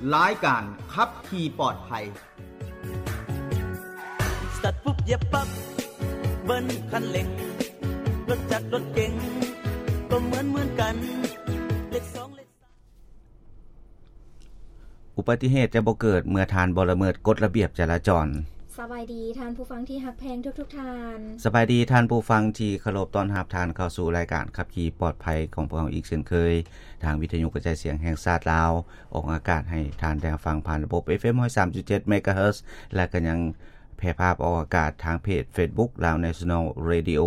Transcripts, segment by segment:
ລາຍການຂັບຂີ່ປອດໄພ. ສະຕາດປຸບ ຢຽບປັບ ເບີນຄັນເລັ່ງ ລົດຈັກລົດເກັງ ກໍເໝືອນເໝືອນກັນ ເລກສອງເລກ ອຸບັດຕິເຫດຈະບໍ່ເກີດເມື່ອທ່ານບໍ່ລະເມີດກົດລະບຽບຈະລາຈອນ. ສະບາຍດີທ່ານຜູ້ຟັງທີ່ຮັກແພງທຸກໆທ່ານ. ສະບາຍດີທ່ານຜູ້ຟັງທີ່ເຄົາລົບ, ຕ້ອນຮັບທ່ານເຂົ້າສູ່ລາຍການຂັບຂີ່ປອດໄພຂອງພວກເຮົາອີກເຊັ່ນເຄີຍ, ທາງວິທະຍຸກະຈາຍສຽງແຫ່ງຊາດລາວ ອອກອາກາດໃຫ້ທ່ານໄດ້ຮັບຟັງຜ່ານລະບົບ ເອັຟເອັມ ຮ້ອຍສາມຈຸດເຈັດ ເມກາເຮີດ ແລະ ກໍຍັງແຜ່ພາບອອກອາກາດທາງເພຈເຟສບຸກ Lao National Radio.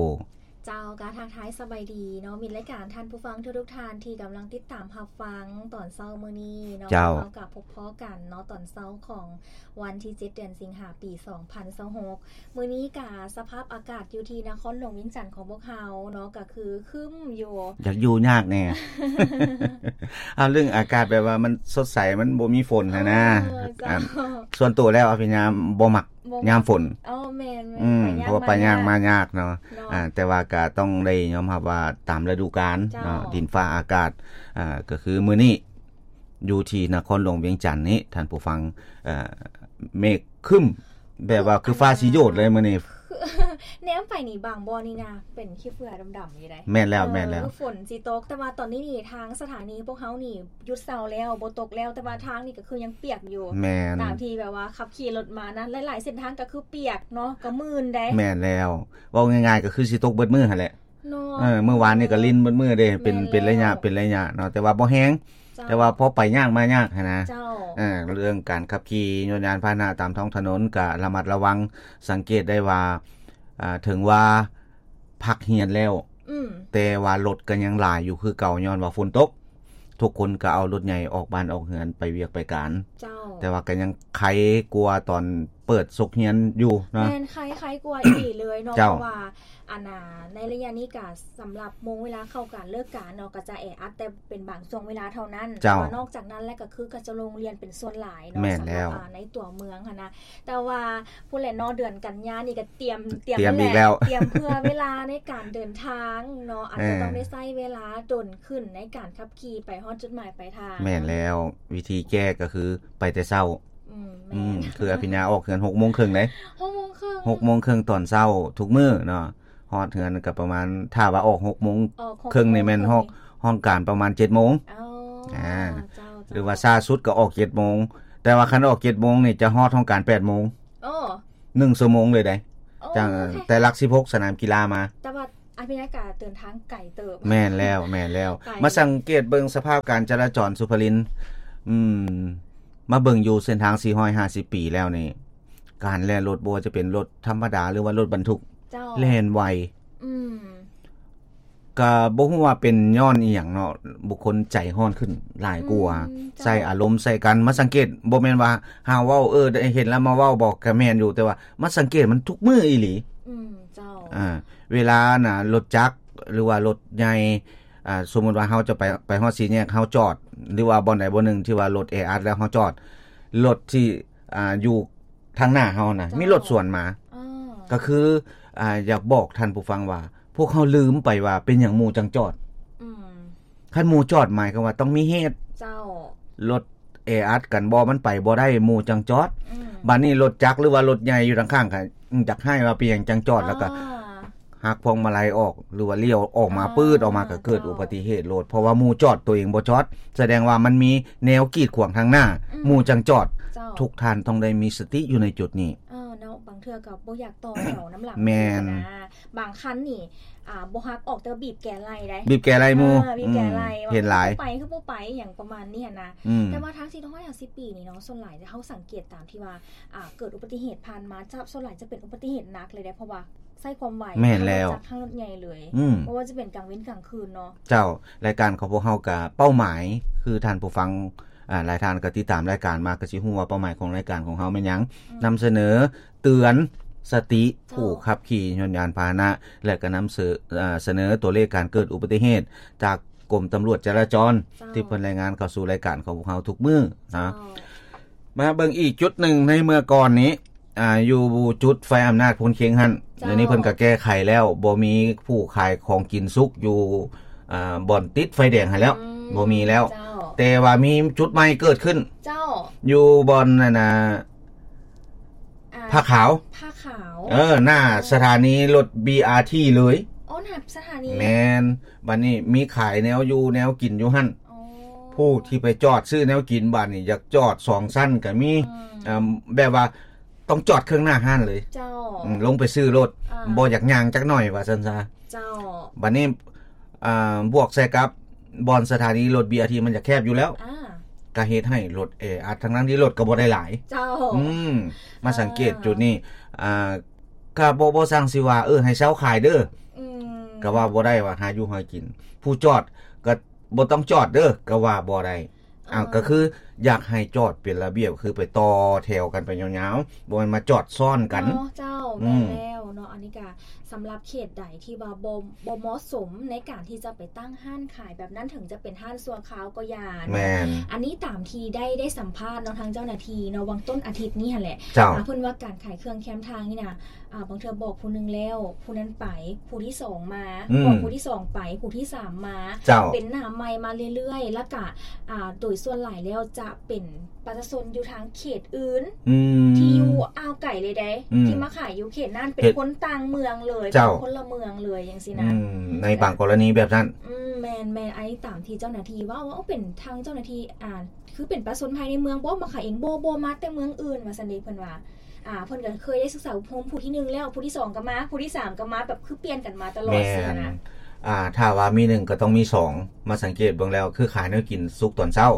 ເຈົ້າ ກະທັກທາຍສະບາຍດີເນາະ ມິດລາຍການ, ທ່ານຜູ້ຟັງທຸກໆທ່ານທີ່ກຳລັງຕິດຕາມຮັບຟັງຕອນເຊົ້າມື້ນີ້ເນາະ. ເຈົ້າ ເຮົາກະພົບພໍ້ກັນເນາະ ຕອນເຊົ້າຂອງວັນທີເຈັດ ເດືອນສິງຫາ ປີສອງພັນຊາວຫົກ. ມື້ນີ້ກະສະພາບອາກາດຢູ່ທີ່ນະຄອນຫຼວງວຽງຈັນຂອງພວກເຮົາເນາະ ກະຄືຄຶ້ມຢູ່ ຢາກຢູ່ຍາກແດ່. ເອົາເລື່ອງອາກາດແບບວ່າມັນສົດໃສ ມັນບໍ່ມີຝົນຫັ້ນນະ. ເອີ ເຈົ້າ ອັນ ສ່ວນໂຕແລ້ວອະພິຍາມບໍ່ມັກ ບໍ່ ຍາມຝົນ. ອໍ ແມ່ນໆ ອືມ ໄປຍາກ ເພາະວ່າໄປຍາກມາຍາກເນາະ. ເນາະ ອ່າ ແຕ່ວ່າກະຕ້ອງໄດ້ຍອມຮັບວ່າຕາມລະດູການເນາະ. ເຈົ້າ ດິນຟ້າອາກາດ ອ່າ ກໍຄືມື້ນີ້ຢູ່ທີ່ນະຄອນຫຼວງວຽງຈັນນີ້ ທ່ານຜູ້ຟັງ ເອີ ເມກຄຶ້ມ ແບບວ່າຄືຟ້າຊິໂຍດເລີຍມື້ນີ້. ແນມໄປນີ້ບາງບ່ອນນີ້ນະ ເປັນຂີ້ເຝື້ອດຳໆຢູ່ໃດ໋. ແມ່ນແລ້ວ ເອີ ແມ່ນແລ້ວ ຝົນຊິຕົກ ແຕ່ວ່າຕອນນີ້ນີ້ທາງສະຖານີພວກເຮົານີ້ຢຸດເຊົາແລ້ວ ບໍ່ຕົກແລ້ວ ແຕ່ວ່າທາງນີ້ກໍຄືຍັງປຽກຢູ່. ແມ່ນ ຕາມທີ່ແບບວ່າຂັບຂີ່ລົດມານະ ຫຼາຍໆເສັ້ນທາງກໍຄືປຽກເນາະ ກໍມື່ນໃດ໋. ແມ່ນແລ້ວ ເວົ້າງ່າຍໆກໍຄືຊິຕົກເບິດມື້ຫັ້ນແຫຼະເນາະ. ເອີ ມື້ວານນີ້ກໍລິນເບິດມື້ເດ້ ເປັນ ແມ່ນແລ້ວ ເປັນໄລຍະ ເປັນໄລຍະເນາະ ແຕ່ວ່າບໍ່ແຮງ. ເຈົ້າ ແຕ່ວ່າພໍໄປຍາກມາຍາກຫັ້ນນະ. ເຈົ້າ ເອີ ເລື່ອງການຂັບຂີ່ຍົນຍານພາຫະນະຕາມທ້ອງຖະໜົນກະລະມັດລະວັງ, ສັງເກດໄດ້ວ່າ ອ່າ ເຖິງວ່າພັກຮຽນແລ້ວ ອືມ ແຕ່ວ່າລົດກໍຍັງຫຼາຍຢູ່ຄືເກົ່າ ຍ້ອນວ່າຝົນຕົກ. ທຸກຄົນກໍເອົາລົດໃຫຍ່ອອກບ້ານອອກເຮືອນໄປວຽກໄປການ. ເຈົ້າ ແຕ່ວ່າກໍຍັງໄຄກວ່າຕອນເປີດສົກຮຽນຢູ່ເນາະ. ແມ່ນ ໄຄ ໄຄກວ່າອີ່ຫຼີເລີຍເນາະ. ເຈົ້າ ເພາະວ່າ ອັນນ່າ ໃນໄລຍະນີ້ກະສຳລັບໂມງເວລາເຂົ້າການເລີກການເນາະ ກໍຈະແອອັດແຕ່ເປັນບາງຊ່ວງເວລາເທົ່ານັ້ນ. ເຈົ້າ ແຕ່ວ່ານອກຈາກນັ້ນແລ້ວກໍຄືກໍຈະລົງຮຽນເປັນສ່ວນຫຼາຍເນາະ. ແມ່ນແລ້ວ ສຳລັບ ອ່າ ໃນຕົວເມືອງຫັ້ນນະ. ແຕ່ວ່າພຸ້ນແຫຼະເນາະ ເດືອນກັນຍານີ້ກໍຕຽມ ຕຽມ ຕຽມອີກແລ້ວ ຕຽມເພື່ອເວລາໃນການເດີນທາງເນາະ ອາດຈະ ເອີ ຕ້ອງໄດ້ໃຊ້ເວລາດົນຂຶ້ນໃນການຂັບຂີ່ໄປຮອດຈຸດໝາຍປາຍທາງ. ແມ່ນແລ້ວ ວິທີແກ້ກໍຄືໄປແຕ່ເຊົ້າ. ອືມ ອືມ ແມ່ນ ຄືອະພິນຍາອອກເຮືອນຫົກໂມງເຄິ່ງເດ້. ຫົກໂມງເຄິ່ງ ຫົກໂມງເຄິ່ງຕອນເຊົ້າທຸກມື້ເນາະ. ຮອດເຮືອນກໍປະມານ ຖ້າວ່າອອກຫົກໂມງເຄິ່ງນີ້ແມ່ນຮອດຫ້ອງການປະມານເຈັດໂມງ. ອໍ ອ່າ ເຈົ້າໆ ຫຼືວ່າຊ້າສຸດກໍອອກເຈັດໂມງ. ແຕ່ວ່າຄັນອອກເຈັດໂມງນີ້ຈະຮອດຫ້ອງການແປດໂມງ. ໂອ້ ໜຶ່ງຊົ່ວໂມງເລີຍໃດ໋. ໂອ້ ຈາກ ໂອເຄ ແຕ່ຫຼັກສິບຫົກສະໜາມກິລາມາ. ແຕ່ວ່າອາພິນຍາກະເດີນທາງໄກເຕີບ. ແມ່ນແລ້ວ ແມ່ນແລ້ວ ໄກ ມາສັງເກດເບິ່ງສະພາບການຈະລາຈອນ ສຸພະລິນ ອືມ ມາເບິ່ງຢູ່ເສັ້ນທາງສີ່ຮ້ອຍຫ້າສິບປີແລ້ວນີ້ ການແລ່ນລົດ ບໍ່ວ່າຈະເປັນລົດທຳມະດາ ຫຼືວ່າລົດບັນທຸກ ເຈົ້າ ແລ່ນໄວ. ອືມ ກະບໍ່ຮູ້ວ່າເປັນຍ້ອນອີ່ຫຍັງເນາະ ບຸກຄົນໃຈຮ້ອນຂຶ້ນຫຼາຍກວ່າ. ອືມ ເຈົ້າ ໃສ່ອາລົມໃສ່ກັນ. ມາສັງເກດ ບໍ່ແມ່ນວ່າຫາເວົ້າ ເອີ ໄດ້ເຫັນແລ້ວມາເວົ້າບໍ ກະແມ່ນຢູ່ ແຕ່ວ່າມາສັງເກດມັນທຸກມື້ອີ່ຫຼີ. ອືມ ເຈົ້າ ອ່າ ເວລານະ ລົດຈັກ ຫຼືວ່າລົດໃຫຍ່ ອ່າ ສົມມຸດວ່າເຮົາຈະໄປ ໄປຮອດສີ່ແຍກ ເຮົາຈອດ ຫຼືວ່າບ່ອນໃດບ່ອນໜຶ່ງທີ່ວ່າລົດແອອັດແລ້ວເຮົາຈອດ ລົດທີ່ ອ່າ ຢູ່ທາງໜ້າເຮົານະ ເຈົ້າ ມີລົດສວນມາ. ອໍ ກໍຄື ອ່າ ຢາກບອກທ່ານຜູ້ຟັງວ່າ ພວກເຮົາລືມໄປວ່າເປັນຫຍັງໝູ່ຈັ່ງຈອດ. ອືມ ຄັນໝູ່ຈອດໝາຍຄວາມວ່າຕ້ອງມີເຫດ. ເຈົ້າ ລົດແອອັດກັນບໍ ມັນໄປບໍ່ໄດ້ ໝູ່ຈັ່ງຈອດ. ອືມ ບາດນີ້ລົດຈັກ ຫຼືວ່າລົດໃຫຍ່ຢູ່ທາງຂ້າງ ກໍຢາກໃຫ້ວ່າເປັນຫຍັງຈັ່ງຈອດ ແລ້ວກໍ ອ່າ ຫັກພວງມາໄລອອກ ຫຼືວ່າລ້ຽວອອກມາ ອ່າ ປຶດອອກມາ ກໍເກີດ ເຈົ້າ ອຸບັດຕິເຫດໂລດ ເພາະວ່າໝູ່ຈອດ ໂຕເອງບໍ່ຈອດ ສະແດງວ່າມັນມີແນວກີດຂວາງທາງໜ້າ ອືມ ໝູ່ຈັ່ງຈອດ. ເຈົ້າ ທຸກທ່ານຕ້ອງໄດ້ມີສະຕິຢູ່ໃນຈຸດນີ້. ເອີ ເນາະ ບາງເທື່ອກໍບໍ່ຢາກຕໍ່ແຖວນຳຫຼັງ. ແມ່ນ ບາງຄັນນີ້ ອ່າ ບໍ່ຫັກອອກ ແຕ່ວ່າບີບແກໄລ່ໄດ໋ ບີບແກໄລ່ໝູ່. ເອີ ບີບແກໄລ່ ອືມ ວ່າ ເຫັນຫຼາຍ ຄືບໍ່ໄປ ຄືບໍ່ໄປ ຫຍັງປະມານນີ້ຫັ້ນນະ. ອືມ ແຕ່ວ່າທາງສີ່ຮ້ອຍຫ້າສິບປີນີ້ເນາະ ສ່ວນຫຼາຍເຮົາສັງເກດຕາມທີ່ວ່າ ອ່າ ເກີດອຸບັດຕິເຫດຜ່ານມາ ຈະ ສ່ວນຫຼາຍຈະເປັນອຸບັດຕິເຫດໜັກເລີຍເດ້ ເພາະວ່າໃຊ້ຄວາມໄວ. ແມ່ນແລ້ວ ທັງລົດຈັກທັງລົດໃຫຍ່ເລີຍ. ອືມ ບໍ່ວ່າຈະເປັນກາງເວັນກາງຄືນເນາະ. ເຈົ້າ ລາຍການຂອງພວກເຮົາກະເປົ້າໝາຍ ຄືທ່ານຜູ້ຟັງ ອ່າ ຫຼາຍທ່ານກໍຕິດຕາມລາຍການມາ ກໍຊິຮູ້ວ່າເປົ້າໝາຍຂອງລາຍການຂອງເຮົາແມ່ນຫຍັງ. ອືມ ນຳສະເໜີເຕືອນສະຕິ ເຈົ້າ ຜູ້ຂັບຂີ່ຍົນຍານພາຫະນະ ແລະ ກໍນຳສະເໜີ ເອີ ສະເໜີຕົວເລກການເກີດອຸບັດຕິເຫດຈາກກົມຕຳຫຼວດຈະລາຈອນ ເຈົ້າ ທີ່ເພິ່ນລາຍງານເຂົ້າສູ່ລາຍການຂອງພວກເຮົາທຸກມື້ນະ. ເຈົ້າ ມາເບິ່ງອີກຈຸດໜຶ່ງ ໃນເມື່ອກ່ອນນີ້ ອ່າ ຢູ່ຈຸດໄຟອຳນາດໂພນເຄັງຫັ້ນ ເຈົ້າ ດຽວນີ້ເພິ່ນກໍແກ້ໄຂແລ້ວ ບໍ່ມີຜູ້ຂາຍຂອງກິນສຸກຢູ່ ອ່າ ບ່ອນຕິດໄຟແດງຫັ້ນແລ້ວ. ອືມ ບໍ່ມີແລ້ວ. ເຈົ້າ ແຕ່ວ່າມີຈຸດໃໝ່ເກີດຂຶ້ນ ເຈົ້າ ຢູ່ບ່ອນນັ້ນນະ ອ່າ ຜ້າຂາວ ຜ້າຂາວ ເອີ ໜ້າ ອໍ ສະຖານີລົດ ບີອາທີ ເລີຍ ອໍ ໜ້າສະຖານີ ແມ່ນ ບັດນີ້ມີຂາຍແນວຢູ່ແນວກິນຢູ່ຫັ້ນ ອໍ ຜູ້ທີ່ໄປຈອດຊື້ແນວກິນ ບັດນີ້ຢາກຈອດສອງຊັ້ນກໍມີ ອືມ ເອີ ແບບວ່າ ຕ້ອງຈອດເຄິ່ງໜ້າຮ້ານເລີຍ ເຈົ້າ ອືມ ລົງໄປຊື້ໂລດ ອ່າ ບໍ່ຢາກຍ່າງຈັກໜ້ອຍວ່າຊັ້ນຊະ ເຈົ້າ ບັດນີ້ ອ່າ ບວກໃສ່ກັບບ່ອນສະຖານີລົດ ບີອາທີ ມັນຈະແຄບຢູ່ແລ້ວ ອ່າ ກໍເຮັດໃຫ້ລົດແອອັດ ທັງໆທີ່ລົດກໍບໍ່ໄດ້ຫຼາຍ ເຈົ້າ ອືມ ມາສັງເກດ ອ່າ ຈຸດນີ້ ອ່າ ກໍບໍ່ ບໍ່ສັ່ງຊິວ່າ ເອີ ໃຫ້ເຊົາຂາຍເດີ ອືມ ກໍວ່າບໍ່ໄດ້ ວ່າຫາຢູ່ຫາກິນ ຜູ້ຈອດກໍບໍ່ຕ້ອງຈອດເດີ ກໍວ່າບໍ່ໄດ້ ອ້າວ ອ່າ ກໍຄືຢາກໃຫ້ຈອດເປັນລະບຽບ ຄືໄປຕໍ່ແຖວກັນໄປຍາວໆ ບໍ່ແມ່ນມາຈອດຊ້ອນກັນເນາະ ເຈົ້າ ອືມ ແມ່ນແລ້ວເນາະ ອັນນີ້ກະສຳລັບເຂດໃດທີ່ວ່າບໍ່ ບໍ່ເໝາະສົມໃນການທີ່ຈະໄປຕັ້ງຮ້ານຂາຍແບບນັ້ນ ເຖິງຈະເປັນຮ້ານຊົ່ວຄາວກໍຢ່າເນາະ ແມ່ນ ອັນນີ້ຕາມທີ່ໄດ້ ໄດ້ສຳພາດເນາະ ທາງເຈົ້າໜ້າທີ່ເນາະ ຫວ່າງຕົ້ນອາທິດນີ້ຫັ້ນແຫຼະ ເຈົ້າ ອ່າ ເພິ່ນວ່າການຂາຍເຄື່ອງແຄມທາງນີ້ນະ ອ່າ ບາງເທື່ອບອກຜູ້ໜຶ່ງແລ້ວ ຜູ້ນັ້ນໄປ ຜູ້ທີສອງມາ ອືມ ບອກຜູ້ທີສອງໄປ ຜູ້ທີສາມມາ ເຈົ້າ ເປັນໜ້າໃໝ່ມາເລື້ອຍໆ ແລ້ວກະ ອ່າ ໂດຍສ່ວນຫຼາຍແລ້ວຈະເປັນປະຊາຊົນຢູ່ທາງເຂດອື່ນ ອືມ ທີ່ຢູ່ອ່າວໄກເລີຍເດ້ ອືມ ທີ່ມາຂາຍຢູ່ເຂດນັ້ນ ເປັນຄົນຕ່າງເມືອງເລີຍ ເຈົ້າ ເປັນຄົນລະເມືອງເລີຍ ຈັ່ງຊີ້ນະ ອືມ ໃນບາງກໍລະນີແບບນັ້ນ ອືມ ແມ່ນໆ ອັນນີ້ຕາມທີ່ເຈົ້າໜ້າທີ່ເວົ້າ ເວົ້າເປັນທາງເຈົ້າໜ້າທີ່ ອ່າ ຄືເປັນປະຊາຊົນພາຍໃນເມືອງບໍ ມາຂາຍເອງ ບໍ່ ບໍ່ ມາແຕ່ເມືອງອື່ນ ວ່າຊັ້ນເດ ເພິ່ນວ່າ ອ່າ ເພິ່ນກໍເຄີຍໄດ້ສຶກສາອົບຮົມ ຜູ້ທີໜຶ່ງແລ້ວ ຜູ້ທີສອງກໍມາ ຜູ້ທີສາມກໍມາ ແບບຄືປ່ຽນກັນມາຕະຫຼອດ ແມ່ນ ຊີ້ນະ ອ່າ ຖ້າວ່າມີໜຶ່ງກໍຕ້ອງມີສອງ ມາສັງເກດເບິ່ງແລ້ວ ຄືຂາຍແນວກິນສຸກຕອນເຊົ້າ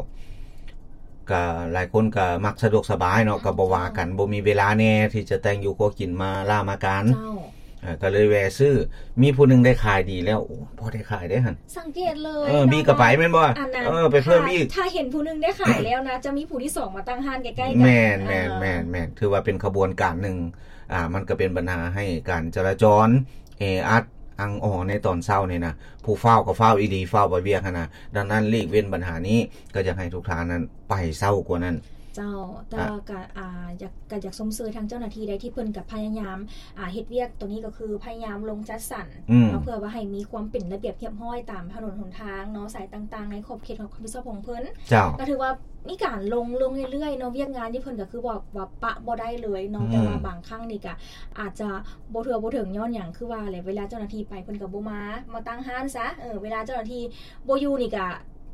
ກໍຫຼາຍຄົນກໍມັກສະດວກສະບາຍເນາະ ອືມ ກໍບໍ່ວ່າກັນ ເຈົ້າ ບໍ່ມີເວລາແດ່ທີ່ຈະແຕ່ງຢູ່ຄົວກິນມາລາມາການ ເຈົ້າ ເອີ ກໍເລີຍແວ່ຊື້ ມີຜູ້ໜຶ່ງໄດ້ຂາຍດີແລ້ວ ໂອ້ ພໍໄດ້ຂາຍເດ້ຫັ້ນ ສັງເກດເລີຍ ເອີ ເນາະ ມີກໍໄປແມ່ນບໍ່ ອັນນັ້ນ ເອີ ໄປເພີ່ມອີກ ຖ້າ ຖ້າເຫັນຜູ້ໜຶ່ງໄດ້ຂາຍແລ້ວນະ ຈະມີຜູ້ທີສອງມາຕັ້ງຮ້ານໃກ້ໆກັນ ແມ່ນ ເອີ ແມ່ນ ແມ່ນ ແມ່ນ ຖືວ່າເປັນຂະບວນການໜຶ່ງ ອ່າ ມັນກໍເປັນບັນຫາໃຫ້ການຈະລາຈອນແອອັດ ອັ່ງອໍໃນຕອນເຊົ້ານີ້ນະ ຜູ້ຟ້າວກໍຟ້າວອີ່ຫຼີ ຟ້າວໄປວຽກຫັ້ນນະ ດັ່ງນັ້ນຫຼີກເວັ້ນບັນຫານີ້ ກໍຢາກໃຫ້ທຸກທ່ານນັ້ນໄປເຊົ້າກວ່ານັ້ນ ເຈົ້າ ແຕ່ວ່າ ອ່າ ກໍ ອ່າ ຢາກ ກໍຢາກຊົມເຊີຍທາງເຈົ້າໜ້າທີ່ໄດ້ ທີ່ເພິ່ນກໍພະຍາຍາມ ອ່າ ເຮັດວຽກໂຕນີ້ກໍຄືພະຍາຍາມລົງຈັດສັນ ອືມ ເນາະ ເພື່ອວ່າໃຫ້ມີຄວາມເປັນລະບຽບຮຽບຮ້ອຍຕາມຖະໜົນຫົນທາງເນາະ ສາຍຕ່າງໆ ໃນຂອບເຂດຂອງຮັບຜິດຊອບຂອງເພິ່ນ ເຈົ້າ ກໍຖືວ່າມີການລົງ ລົງເລື້ອຍໆເນາະ ວຽກງານທີ່ເພິ່ນກໍຄືວ່າ ວ່າປະບໍ່ໄດ້ເລີຍເນາະ ອືມ ແຕ່ວ່າບາງຄັ້ງນີ້ກໍອາດຈະບໍ່ທົ່ວບໍ່ເຖິງ ຍ້ອນຫຍັງ ຄືວ່າແຫຼະ ເວລາເຈົ້າໜ້າທີ່ໄປເພິ່ນກໍບໍ່ມາ ມາຕັ້ງຮ້ານຊະ ເອີ ເວລາເຈົ້າໜ້າທີ່ບໍ່ຢູ່ນີ້ກໍ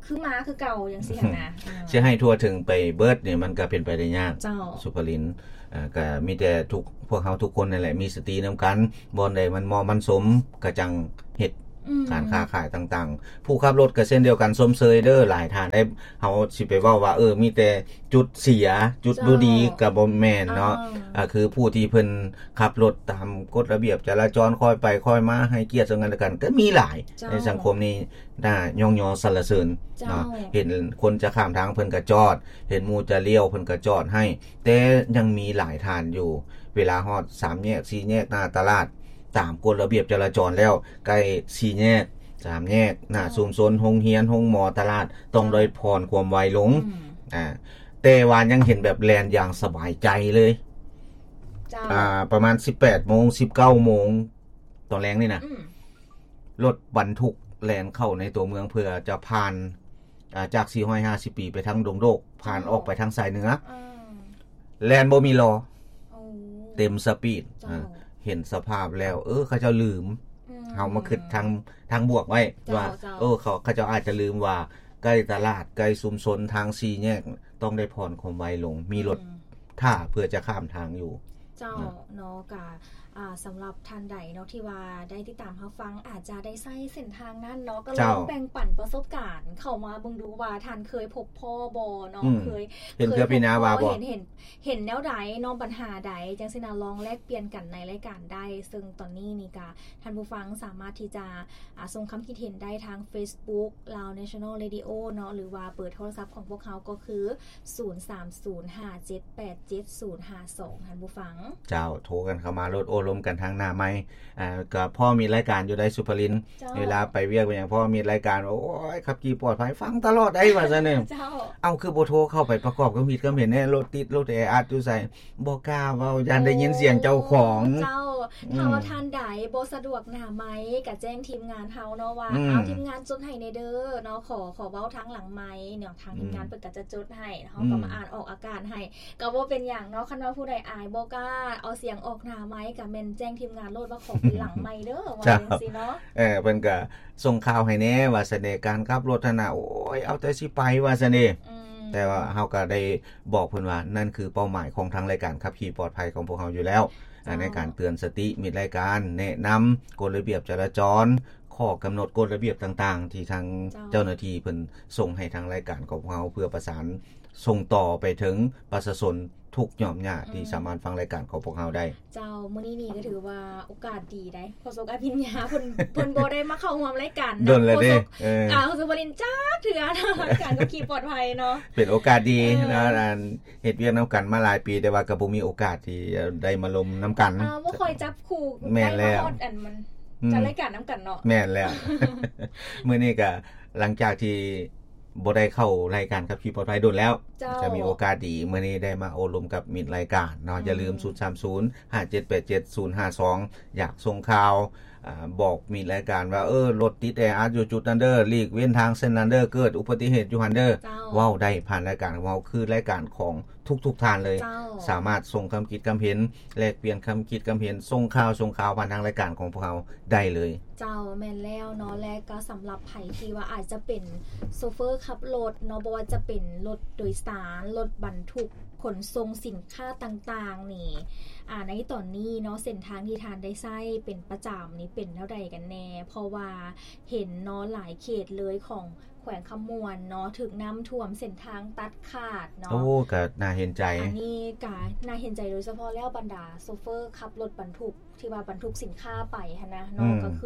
ຄືມາຄືເກົ່າຈັ່ງຊີ້ຫັ້ນນະ ເອີ ຊິໃຫ້ທົ່ວເຖິງໄປເບິດນີ້ ມັນກໍເປັນໄປໄດ້ຍາກ ເຈົ້າ ສຸພະລິນ ເອີ ກໍມີແຕ່ທຸກ ພວກເຮົາທຸກຄົນນັ້ນແຫຼະ ມີສະຕິນຳກັນ ບ່ອນໃດມັນເໝາະມັນສົມ ກໍຈັ່ງເຮັດ ອືມ ການຄ້າຂາຍຕ່າງໆ ຜູ້ຂັບລົດກໍເຊັ່ນດຽວກັນ ຊົມເຊີຍເດີ ຫຼາຍທ່ານໄດ້ ເຮົາຊິໄປເວົ້າວ່າ ເອີ ມີແຕ່ຈຸດເສຍ ຈຸດ ເຈົ້າ ບໍ່ດີ ກໍບໍ່ແມ່ນເນາະ ອ່າ ອ່າ ຄືຜູ້ທີ່ເພິ່ນຂັບລົດຕາມກົດລະບຽບຈະລາຈອນ ຄ່ອຍໄປຄ່ອຍມາ ໃຫ້ກຽດເຊິ່ງກັນແລະກັນ ກໍມີຫຼາຍ ເຈົ້າ ໃນສັງຄົມນີ້ ໜ້າຍ້ອງຍໍສັນລະເສີນ ເຈົ້າ ເນາະ ເຫັນຄົນຈະຂ້າມທາງເພິ່ນກໍຈອດ ເຫັນໝູ່ຈະລ້ຽວເພິ່ນກໍຈອດໃຫ້ ແຕ່ຍັງມີຫຼາຍທ່ານຢູ່ ເວລາຮອດສາມແຍກ ສີ່ແຍກ ໜ້າຕະຫຼາດ ຕາມກົດລະບຽບຈະລາຈອນແລ້ວ ໃກ້ສີ່ແຍກ ສາມແຍກ ໜ້າ ເຈົ້າ ຊຸມຊົນ ໂຮງຮຽນ ໂຮງໝໍ ຕະຫຼາດ ຕ້ອງ ເຈົ້າ ໄດ້ຜ່ອນຄວາມໄວລົງ ອືມ ອ່າ ແຕ່ວ່າຍັງເຫັນແບບແລ່ນຢ່າງສະບາຍໃຈເລີຍ ເຈົ້າ ອ່າ ປະມານສິບແປດໂມງ ສິບເກົ້າໂມງ ຕອນແລງນີ້ນະ ອືມ ລົດບັນທຸກແລ່ນເຂົ້າໃນຕົວເມືອງ ເພື່ອຈະຜ່ານ ອ່າ ຈາກສີ່ຮ້ອຍຫ້າສິບປີໄປທາງດົງໂດກ ຜ່ານ ເຈົ້າ ອອກໄປທາງສາຍເໜືອ ອືມ ແລ່ນບໍ່ມີລໍ ໂອ້ ເຕັມສະປີດ ເຈົ້າ ອ່າ ເຫັນສະພາບແລ້ວ ເອີ ເຂົາເຈົ້າລືມ ອືມ ເຮົາມາຄິດທາງ ທາງບວກໄວ້ ເຈົ້າ ວ່າ ເຈົ້າ ເອີ ເຂົາ ເຂົາເຈົ້າອາດຈະລືມວ່າ ໃກ້ຕະຫຼາດ ໃກ້ຊຸມຊົນ ທາງສີ່ແຍກ ຕ້ອງໄດ້ຜ່ອນຄວາມໄວລົງ ມີລົດ ອືມ ຖ້າເພື່ອຈະຂ້າມທາງຢູ່ ເຈົ້າ ອ່າ ເນາະ ກະ ອ່າ ສຳລັບທ່ານໃດເນາະ ທີ່ວ່າໄດ້ຕິດຕາມຮັບຟັງ ອາດຈະໄດ້ໃຊ້ເສັ້ນທາງນັ້ນເນາະ ກໍລອງ ເຈົ້າ ແບ່ງປັນປະສົບການເຂົ້າມາເບິ່ງດູວ່າ ທ່ານເຄີຍພົບພໍ້ບໍ່ເນາະ ອືມ ເຄີຍ ເຫັນເທື່ອ ເຄີຍພົບພໍ້ ເຫັນແນວໃດເນາະ ບັນຫາໃດ ຈັ່ງຊີ້ນະ ລອງແລກປ່ຽນກັນໃນລາຍການໄດ້ ເຊິ່ງຕອນນີ້ນີ້ກະ ທ່ານຜູ້ຟັງສາມາດທີ່ຈະ ອ່າ ສົ່ງຄຳຄິດເຫັນໄດ້ທາງ Facebook Lao National Radio ເນາະ ຫຼືວ່າເບີໂທລະສັບຂອງພວກເຮົາກໍຄື ສູນສາມສູນຫ້າເຈັດແປດເຈັດສູນຫ້າສອງ ທ່ານຜູ້ຟັງ ເຈົ້າ ໂທກັນເຂົ້າມາໂລດ ໂອ້ລົມກັນທາງໜ້າໄມ ອ່າ ກໍພໍມີລາຍການຢູ່ໃດ ສຸພະລິນ ເຈົ້າ ເວລາໄປວຽກໄປຫຍັງ ພໍມີລາຍການ ໂອ້ຍ ຂັບຂີ່ປອດໄພ ຟັງຕະຫຼອດໄດ໋ ວ່າຊັ້ນເນາະ ເຈົ້າ ເອົ້າ ຄືບໍ່ໂທເຂົ້າໄປປະກອບຄວາມຄິດຄວາມເຫັນແດ່ ລົດຕິດ ລົດແອອັດຢູ່ໃສ ບໍ່ກ້າເວົ້າ ຢ້ານໄດ້ຍິນສຽງເຈົ້າຂອງ ເຈົ້າ ຖ້າວ່າທ່ານໃດບໍ່ສະດວກໜ້າໄມ ກໍແຈ້ງທີມງານເຮົາເນາະວ່າ ອືມ ເອົາ ທີມງານຈົດໃຫ້ແດ່ເດີເນາະ ຂໍ ຂໍເວົ້າທາງຫຼັງໄມເນາະ ທາງ ອືມ ທີມງານເພິ່ນກໍຈະຈົດໃຫ້ ເຮົາກໍມາ ອືມ ອ່ານອອກອາກາດໃຫ້ ກໍບໍ່ເປັນຫຍັງເນາະ. ຄັນວ່າຜູ້ໃດອາຍບໍ່ກ້າເອົາສຽງອອກໜ້າໄມ ກໍແມ່ນແຈ້ງທີມງານໂລດວ່າຂໍເປັນຫຼັງໄມເດີ ວ່າ ເຈົ້າ ຈັ່ງຊີ້ເນາະ. ເອີ ເພິ່ນກໍສົ່ງຂ່າວໃຫ້ແດ່ວ່າຊັ້ນເດ ການຂັບລົດຫັ້ນນະ ໂອ້ຍ ເອົາແຕ່ຊິໄປວ່າຊັ້ນເດ. ອືມ ແຕ່ວ່າເຮົາກໍໄດ້ບອກເພິ່ນວ່າ ນັ້ນຄືເປົ້າໝາຍຂອງທາງລາຍການຂັບຂີ່ປອດໄພຂອງພວກເຮົາຢູ່ແລ້ວ ເຈົ້າ ໃນການເຕືອນສະຕິມິດລາຍການ ແນະນຳກົດລະບຽບຈະລາຈອນ ຂໍ້ກຳນົດກົດລະບຽບຕ່າງໆ ທີ່ທາງ ເຈົ້າ ເຈົ້າໜ້າທີ່ເພິ່ນສົ່ງໃຫ້ທາງລາຍການຂອງພວກເຮົາ ເພື່ອປະສານສົ່ງຕໍ່ໄປເຖິງປະຊາຊົນທຸກຫຍ່ອມຫຍ້າ ອືມ ທີ່ສາມາດຟັງລາຍການຂອງພວກເຮົາໄດ້. ເຈົ້າ ມື້ນີ້ນີ້ກໍຖືວ່າໂອກາດດີໄດ໋ ໂຄສົກອະພິນຍາເພິ່ນ ເພິ່ນບໍ່ໄດ້ມາເຂົ້າຮ່ວມລາຍການ ດົນແລ້ວເດ້ ໂຄສົກ ເອີ ອ່າ ໂຄສົກວາລິນຈັກເທື່ອ ລາຍການຂັບຂີ່ປອດໄພເນາະ ເປັນໂອກາດດີ ເອີ ເນາະ ອັນເຮັດວຽກນຳກັນມາຫຼາຍປີ ແຕ່ວ່າກໍບໍ່ມີໂອກາດທີ່ຈະໄດ້ມາລົມນຳກັນ ອ່າ ບໍ່ຄ່ອຍຈັບຄູ່ ແມ່ນແລ້ວ ໄດ້ມາຮອດອັນມັນ ອືມ ຈັດລາຍການນຳກັນເນາະ ແມ່ນແລ້ວ ມື້ນີ້ກໍຫຼັງຈາກທີ່ ບໍ່ໄດ້ເຂົ້າລາຍການຂັບຂີ່ປອດໄພດົນແລ້ວ ເຈົ້າ ຈະມີໂອກາດດີ ມື້ນີ້ໄດ້ມາໂອ້ລົມກັບມິດລາຍການເນາະ ອືມ ຢ່າລືມ ສູນສາມສູນ ຫ້າເຈັດແປດເຈັດ ສູນຫ້າສອງ ຢາກສົ່ງຂ່າວ ອາ ບອກມິດລາຍການວ່າ ເອີ ລົດຕິດແອອັດຢູ່ຈຸດນັ້ນເດີ ຫຼີກເວັ້ນທາງເສັ້ນນັ້ນເດີ ເກີດອຸບັດຕິເຫດຢູ່ຫັ້ນເດີ ເຈົ້າ ເວົ້າໄດ້ຜ່ານລາຍການຂອງເຮົາ ຄືລາຍການຂອງ ທຸກໆທ່ານເລີຍ ເຈົ້າ ສາມາດສົ່ງຄຳຄິດຄຳເຫັນ ແລກປ່ຽນຄຳຄິດຄຳເຫັນ ສົ່ງຂ່າວ ສົ່ງຂ່າວຜ່ານທາງລາຍການຂອງພວກເຮົາໄດ້ເລີຍ. ເຈົ້າ ແມ່ນແລ້ວເນາະ ແລະກໍສຳລັບໃຜທີ່ວ່າອາດຈະເປັນໂຊເຟີຂັບລົດເນາະ ບໍ່ວ່າຈະເປັນລົດໂດຍສານ ລົດບັນທຸກຂົນສົ່ງສິນຄ້າຕ່າງໆນີ້ ອາ ໃນຕອນນີ້ເນາະ ເສັ້ນທາງທີ່ທ່ານໄດ້ໃຊ້ເປັນປະຈຳນີ້ເປັນແນວໃດກັນແດ່? ເພາະວ່າເຫັນເນາະ ຫຼາຍເຂດເລີຍຂອງ ແຂວງຄຳມ່ວນເນາະ ຖືກນ້ຳຖ້ວມ ເສັ້ນທາງຕັດຂາດເນາະ. ໂອ້ ກໍໜ້າເຫັນໃຈ ອັນນີ້ກໍໜ້າເຫັນໃຈ ໂດຍສະເພາະແລ້ວບັນດາໂຊເຟີຂັບລົດບັນທຸກ ທີ່ວ່າບັນທຸກສິນຄ້າໄປຫັ້ນນະເນາະ ອືມ ກໍຄື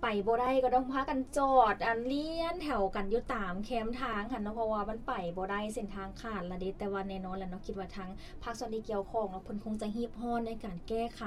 ໄປບໍ່ໄດ້ ກໍຕ້ອງພາກັນຈອດ ອັນລຽນແຖວກັນຢູ່ຕາມແຄມທາງຫັ້ນເນາະ ເພາະວ່າມັນໄປບໍ່ໄດ້ ເສັ້ນທາງຂາດລະເດ. ແຕ່ວ່າແນ່ນອນລະເນາະ ຄິດວ່າທາງພາກສ່ວນທີ່ກ່ຽວຂ້ອງເນາະ ເພິ່ນຄົງຈະຮີບຮ້ອນໃນການແກ້ໄຂ.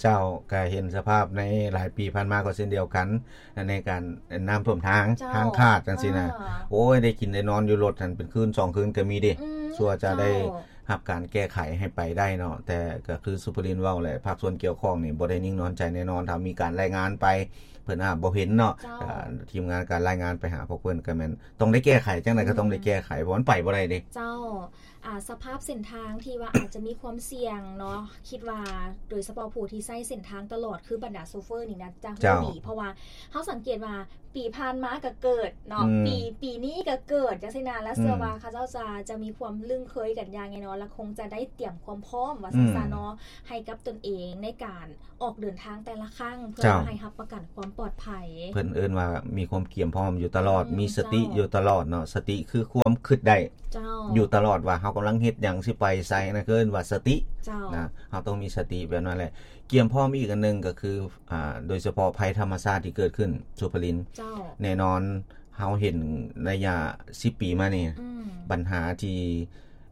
ເຈົ້າ ກໍເຫັນສະພາບໃນຫຼາຍປີຜ່ານມາກໍເຊັ່ນດຽວກັນ ໃນການນ້ຳຖ້ວມທາງ ເຈົ້າ ທາງຂາດຈັ່ງຊີ້ນະ ອ່າ ໂອ້ຍ ໄດ້ກິນໄດ້ນອນຢູ່ລົດຫັ້ນເປັນຄືນສອງຄືນກໍມີເດ້ ອືມ ຊົ່ວຈະໄດ້ ເຈົ້າ ຮັບການແກ້ໄຂໃຫ້ໄປໄດ້ເນາະ ແຕ່ກໍຄືສຸພະລິນເວົ້າແຫຼະ ພາກສ່ວນກ່ຽວຂ້ອງນີ້ບໍ່ໄດ້ນິ່ງນອນໃຈແນ່ນອນ ຖ້າມີການລາຍງານໄປ ເພິ່ນອາດບໍ່ເຫັນເນາະ ເຈົ້າ ອ່າ ທີມງານການລາຍງານໄປຫາພວກເພິ່ນກໍແມ່ນຕ້ອງໄດ້ແກ້ໄຂ ຈັ່ງໃດກໍຕ້ອງໄດ້ແກ້ໄຂ ອືມ ເພາະມັນໄປບໍ່ໄດ້ເດ້ ເຈົ້າ. ອ່າ ສະພາບເສັ້ນທາງທີ່ວ່າອາດຈະມີຄວາມສ່ຽງເນາະ ຄິດວ່າໂດຍສະເພາະຜູ້ທີ່ໃຊ້ເສັ້ນທາງຕະຫຼອດ ຄືບັນດາໂຊເຟີນີ້ນະ ຈະຮູ້ ເຈົ້າ ດີ ເພາະວ່າເຮົາສັງເກດວ່າປີຜ່ານມາກໍເກີດເນາະ ອືມ ປີ ປີນີ້ກໍເກີດ ຈັ່ງຊີ້ນະ ແລະ ອືມ ເຊື່ອວ່າເຂົາເຈົ້າຈະ ຈະມີຄວາມລຶ້ງເຄີຍກັນຢ່າງແນ່ນອນ ແລະ ຄົງຈະໄດ້ຕຽມຄວາມພ້ອມວ່າຊັ້ນຊະເນາະ ອືມ ໃຫ້ກັບຕົນເອງໃນການ ອອກເດີນທາງແຕ່ລະຄັ້ງ ເພື່ອ ເຈົ້າ ໃຫ້ຮັບປະກັນຄວາມປອດໄພ ເພິ່ນເອີ້ນວ່າມີຄວາມກຽມພ້ອມຢູ່ຕະຫຼອດ ອືມ ມີສະຕິ ເຈົ້າ ຢູ່ຕະຫຼອດເນາະ ສະຕິຄືຄວາມຄິດໄດ້ ເຈົ້າ ຢູ່ຕະຫຼອດວ່າເຮົາກຳລັງເຮັດຫຍັງ ຊິໄປໃສ ນັ້ນເອີ້ນວ່າສະຕິ ເຈົ້າ ນະ ເຮົາຕ້ອງມີສະຕິແບບນັ້ນແຫຼະ ກຽມພ້ອມອີກອັນໜຶ່ງກໍຄື ອ່າ ໂດຍສະເພາະໄພທຳມະຊາດທີ່ເກີດຂຶ້ນ ສຸພະລິນ ເຈົ້າ ແນ່ນອນ ເຮົາເຫັນໄລຍະສິບປີມານີ້ ອືມ ບັນຫາທີ່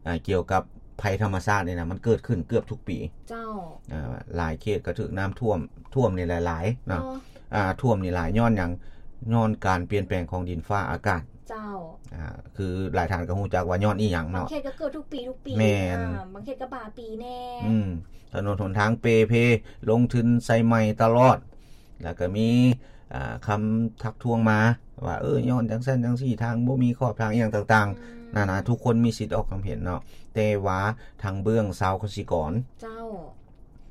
ອ່າ ກ່ຽວກັບໄພທຳມະຊາດນີ້ນະ ມັນເກີດຂຶ້ນເກືອບທຸກປີ ເຈົ້າ ອ່າ ຫຼາຍເຂດກໍຖືກນ້ຳຖ້ວມ ຖ້ວມນີ້ຫຼາຍໆເນາະ ເນາະ ອ່າ ຖ້ວມນີ້ຫຼາຍຍ້ອນຫຍັງ? ຍ້ອນການປ່ຽນແປງຂອງດິນຟ້າອາກາດ ເຈົ້າ ອ່າ ຄືຫຼາຍທ່ານກໍຮູ້ຈັກວ່າຍ້ອນອີ່ຫຍັງເນາະ ບາງເຂດກໍເກີດທຸກປີ ທຸກປີ ແມ່ນ ອ່າ ບາງເຂດກໍບາງປີແດ່ ອືມ ຖະໜົນຫົນທາງເປ່ເພ ລົງທຶນໃສ່ໃໝ່ຕະຫຼອດ ແລ້ວກໍມີ ອ່າ ຄຳທັກທ້ວງມາວ່າ ເອີ ຍ້ອນຈັ່ງຊັ້ນຈັ່ງຊີ້ ທາງບໍ່ມີຂອບທາງອີ່ຫຍັງຕ່າງໆ ອືມ ນານາ ທຸກຄົນມີສິດອອກຄວາມເຫັນເນາະ ແຕ່ວ່າທາງເບື້ອງຊາວກະສິກອນ ເຈົ້າ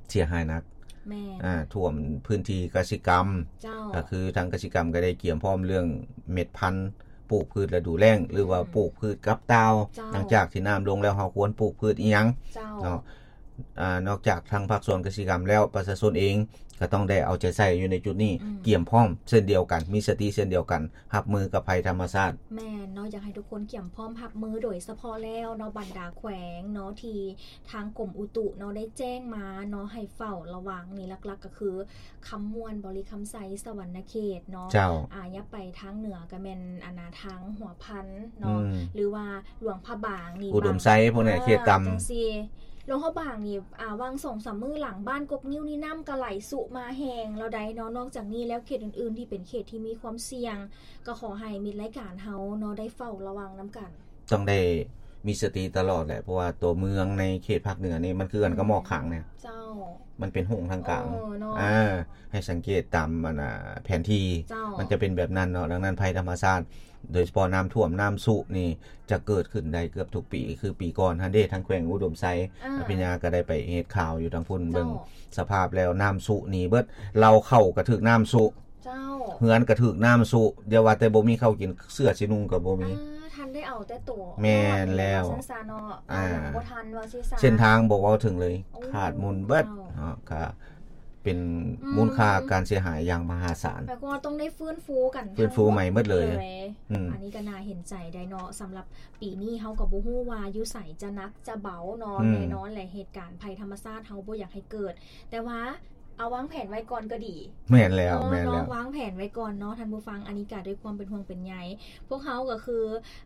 ເສຍຫາຍໜັກ ແມ່ນ ອ່າ ຖ້ວມພື້ນທີ່ກະສິກຳ ເຈົ້າ ກໍຄືທາງກະສິກຳກໍໄດ້ກຽມພ້ອມເລື່ອງເມັດພັນ ປູກພືດລະດູແລ້ງ ຫຼືວ່າ ອືມ ປູກພືດກັບຕ່າວ ເຈົ້າ ຫຼັງຈາກທີ່ນ້ຳລົງແລ້ວ ເຮົາຄວນປູກພືດອີ່ຫຍັງ ເຈົ້າ ເນາະ ອ່າ ນອກຈາກທາງພາກສ່ວນກະສິກຳແລ້ວ ປະຊາຊົນເອງກໍຕ້ອງໄດ້ເອົາໃຈໃສ່ຢູ່ໃນຈຸດນີ້ ອືມ ກຽມພ້ອມເຊັ່ນດຽວກັນ ມີສະຕິເຊັ່ນດຽວກັນ ຮັບມືກັບໄພທຳມະຊາດ. ແມ່ນເນາະ ຢາກໃຫ້ທຸກຄົນກຽມພ້ອມຮັບມື ໂດຍສະເພາະແລ້ວເນາະ ບັນດາແຂວງເນາະ ທີ່ທາງກົມອຸຕຸເນາະ ໄດ້ແຈ້ງມາເນາະ ໃຫ້ເຝົ້າລະວັງນີ້ ຫຼັກໆກໍຄື ຄຳມ່ວນ ບໍລິຄຳໄຊ ສະຫວັນນະເຂດເນາະ ເຈົ້າ ອ່າ ຢ່າໄປທາງເໜືອ ກໍແມ່ນ ອັນນາ ທາງຫົວພັນເນາະ ອືມ ຫຼືວ່າ ຫຼວງພະບາງນີ້ ອຸດົມໄຊ ພວກນີ້ເຂດຕ່ຳ ຈັ່ງຊີ້ ຫຼວງພະບາງນີ້ ອ່າ ຫວ່າງສອງສາມມື້ຫຼັງ ບ້ານກົກງິ້ວນີ້ນ້ຳກໍໄຫຼຊຸມາແຮງແລ້ວໃດເນາະ ນອກຈາກນີ້ແລ້ວ ເຂດອື່ນໆທີ່ເປັນເຂດທີ່ມີຄວາມສ່ຽງ ກໍຂໍໃຫ້ມິດລາຍການເຮົາເນາະ ໄດ້ເຝົ້າລະວັງນຳກັນ ຕ້ອງໄດ້ມີສະຕິຕະຫຼອດແຫຼະ ເພາະວ່າຕົວເມືອງໃນເຂດພາກເໜືອນີ້ ມັນຄືກັນກັບໝອກຄັງນີ້ ເຈົ້າ ມັນເປັນໂຮງທາງກາງ ເອີ ເນາະ ອ່າ ໃຫ້ສັງເກດຕາມ ອັນນ່າ ແຜນທີ່ ເຈົ້າ ມັນຈະເປັນແບບນັ້ນເນາະ. ດັ່ງນັ້ນ ໄພທຳມະຊາດ ໂດຍສະເພາະນ້ຳຖ້ວມ ນ້ຳຊຸນີ້ຈະເກີດຂຶ້ນໄດ້ເກືອບທຸກປີ. ຄືປີກ່ອນຫັ້ນເດ້ ທາງແຂວງອຸດົມໄຊ ອ່າ ອະພິຍາກໍໄດ້ໄປເຮັດຂ່າວຢູ່ທາງພຸ້ນ ເຈົ້າ ເບິ່ງສະພາບແລ້ວ ນ້ຳຊຸໜີເບິດ ເລົ້າເຂົ້າກໍຖືກນ້ຳຊຸ ເຈົ້າ ເຮືອນກໍຖືກນ້ຳຊຸ ຢ່າວ່າແຕ່ບໍ່ມີເຂົ້າກິນ ເສື້ອຊິນຸ່ງກໍບໍ່ມີ. ອ່າ ທັນໄດ້ເອົາແຕ່ໂຕ ແມ່ນແລ້ວ ວ່າຊັ້ນຊະເນາະ ອ່າ ເອົາຫຍັງບໍ່ທັນວ່າຊີ້ຊະ ເສັ້ນທາງບໍ່ເວົ້າເຖິງເລີຍ ໂອ້ ຂາດໝູນເບິດ ເຈົ້າ ເນາະ ກໍເປັນ ອືມ ມູນຄ່າການເສຍຫາຍຢ່າງມະຫາສານ ແປວ່າຕ້ອງໄດ້ຟື້ນຟູກັນ ຟື້ນຟູໃໝ່ໝົດເລີຍ ທັງໝົດເລີຍ ອືມ ອັນນີ້ກໍໜ້າເຫັນໃຈໄດ໋ເນາະ. ສຳລັບປີນີ້ເຮົາກໍບໍ່ຮູ້ວ່າຢູ່ໃສຈະໜັກຈະເບົາເນາະ ອືມ ແນ່ນອນແຫຼະ ເຫດການໄພທຳມະຊາດເຮົາບໍ່ຢາກໃຫ້ເກີດ ແຕ່ວ່າ ເອົາວາງແຜນໄວ້ກ່ອນກໍດີ ແມ່ນແລ້ວ ເອີ ແມ່ນແລ້ວ ເນາະ ວາງແຜນໄວ້ກ່ອນເນາະທ່ານຜູ້ຟັງ. ອັນນີ້ກະດ້ວຍຄວາມເປັນຫ່ວງເປັນໃຍ ພວກເຮົາກໍຄື ອ